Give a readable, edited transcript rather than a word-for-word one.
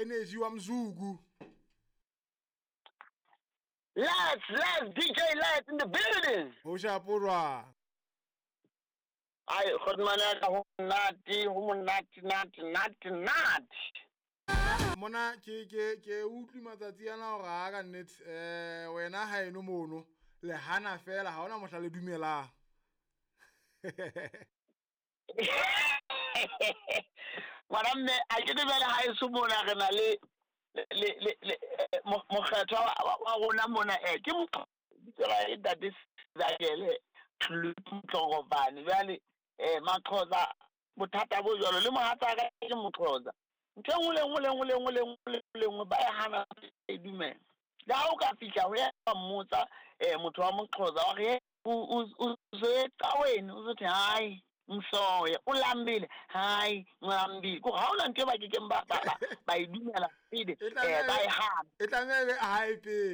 Energy wa Mzuku. Let's DJ Let's in the building. Ho shaporwa. Ai khotmana ya ka ho monate, ho monate, nate, nate, nate. Mona ke utlwi matsatsi ana hore ha ka nnete wena ha eno mono le hana fela ha ona mohla le dumelang. Ngwana mme a ke dumele ha eso mona re na le mokgethwa wa rona mona ke tsela e ntate Zakele Tlhokofane. Jwale Maxhosa bothata bo jwalo le mohatsaka ke Moxhosa. Ntho e nngwe le nngwe le nngwe le nngwe le nngwe le nngwe ba e hana e dumela. Le ha o ka fihla ho ya mmotsa motho wa Moxhosa wa re o ecaweni o zothi hayi ngisoya o lambile hayi ngilambile. Ko ha ona ntho e ba kekeng ba e dumela pele ba e hana. E tlameha e be hayi pele.